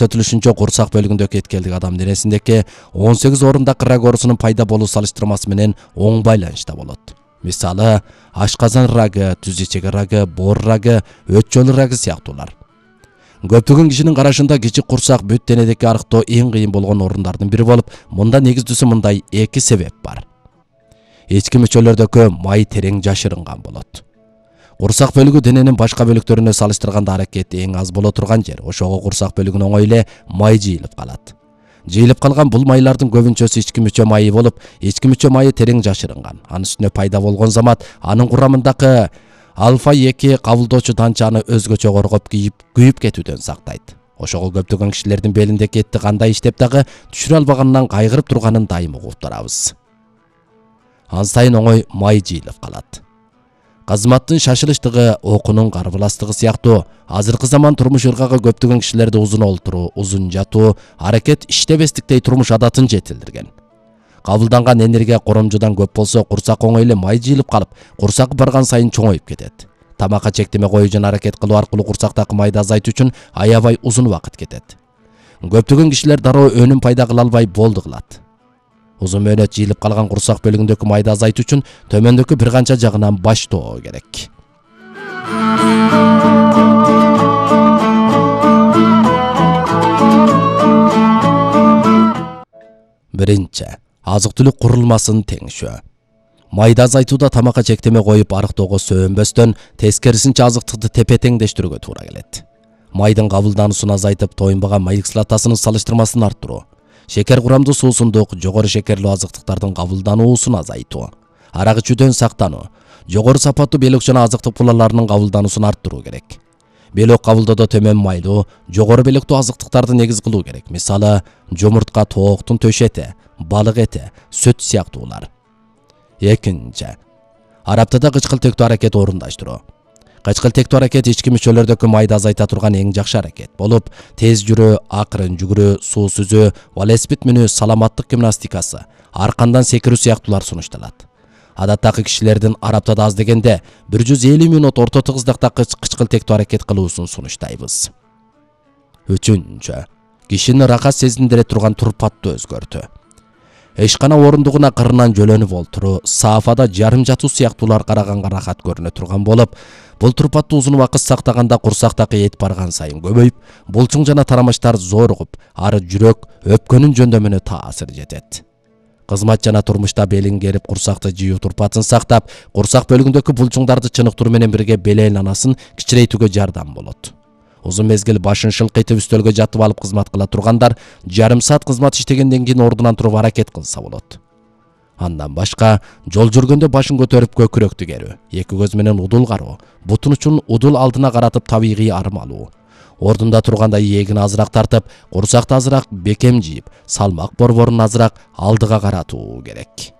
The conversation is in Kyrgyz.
Көрсөтүлүшүнчө курсак бөлүгүндөгү эткелдик адам денесиндеги 18 орундак рак оорусунун пайда болуу салыштырмасы менен оң байланышта болот. Мисалы, ашказан рагы, түз ичеги рагы, боор рагы, өт жолу рагы сыяктуулар. Көптөгөн кишинин карашында кичи курсак бүт денедеги арыктоо эң кыйын болгон орундардын бири болуп, мында негиздүүсү мындай эки себеп бар. Ички мүчөлөрдөгү май терең жашырынган болот. Курсак бөлүгү дененин башка бөлүктөрүнө салыштырганда аракети эң аз боло турган жер. Ошого курсак бөлүгүнө оңой эле май жыйылып калат. Жыйылып калган бул майлардын көбүнчөсү ички мүчө майы болуп, ички мүчө майы терең жашырынган. Анын үстүнө пайда болгон замат анын курамындагы альфа-2 кабылдоочу данчаны өзгөчө коргоп күйүп кетүүдөн сактайт. Ошого көптөгөн кишилердин белиндеги этти кандай иштеп дагы түшүрө албаганынан кайгырып турганын дайым угуп турабыз. Ан сайын оңой май жыйылып калат. Кызматтын шашылыштыгы, окунун карбыластыгы сыяктуу азыркы заман турмуш ыргагы көптөгөн кишилерди узун олтуруу, узун жатуу, аракет иштебестиктей турмуш адатын жетилдирген. Кабылданган энергия коромжудан көп болсо, курсак оңой эле май жыйылып калып, курсак барган сайын чоңоюп кетет. Тамакка чектеме коюу жана аракет кылуу аркылуу курсактагы майды азайтуу үчүн аябай узун убакыт кетет. Көптөгөн кишилер дароо өнүм пайда кыла албай болду кылат. Узун мөөнөт жыйылып калган курсак бөлүгүндөгү майды азайтуу үчүн төмөндөгү бир канча жагынан баштоо керек. Биринчи, азык-түлүк курулмасын теңшөө. Майды азайтууда тамакка чектеме коюп арыктоого сөөнбөстөн, тескерисинче азыктыкты тепе-теңдештирүүгө туура келет. Майдын кабылдануусун азайтып, тоюнбаган май кислотасынын салыштырмасын арттыруу. Шекер курамдуу суусундук, жогору шекерлүү азыктыктардын кабылдануусун азайтуу. Арак ичүүдөн сактануу. Жогору сапаттуу белок жана азыктык булаларынын кабылдануусун арттыруу керек. Белок кабылдоодо төмөн майлуу, жогору белоктуу азыктыктарды негиз кылуу керек. Мисалы, жумуртка, тооктун төш эти, балык эти, сүт сыяктуулар. Экинчи, араптада кычкылтектүү аракет орундаштыруу. Кычкылтектүү аракет ички мүчөлөрдөгү майды азайта турган эң жакшы аракет болуп, тез жүрүү, акырын жүгүрүү, суу сүзүү, велосипед мүнүү, саламаттык гимнастикасы, аркандан секирүү сыяктуулар сунушталат. Адаттагы кишилердин араптада аз дегенде 150 мүнөт орто тыгыздыкта кычкылтектүү аракет кылуусун сунуштайбыз. Үчүнчү, кишини рахат сезиндире турган турпатты өзгөртүү. Эшкана орундугуна кырынан жөлөнүп олтуруу, саафада жарым жатуу сыяктуулар караганга рахат көрүнө турган болуп, бул турпатты узун убакыт сактаганда курсактагы эт барган сайын көбөйүп, булчуң жана тарамыштар зоругуп, ары жүрөк, өпкөнүн жөндөмүнө таасир жетет. Кызмат жана турмушта белин керип курсакты жыюу турпатын сактап, курсак бөлүгүндөгү булчуңдарды чыныктыруу менен бирге бел айланасын кичирейтүүгө жардам болот. Узун мезгил башын шылкыйтып үстөлгө жатып алып кызмат кыла тургандар жарым саат кызмат иштегенден кийин ордунан туруп аракет кылса болот. Андан башка, жол жүргөндө башын көтөрүп көкүрөктү керүү, эки көз менен удул кароо, бутун учун удул алдына каратып табигый арым алуу. Ордунда турганда ийегин азыраак тартып, курсакты азыраак бекем жийип, салмак борборун азыраак алдыга каратуу керек.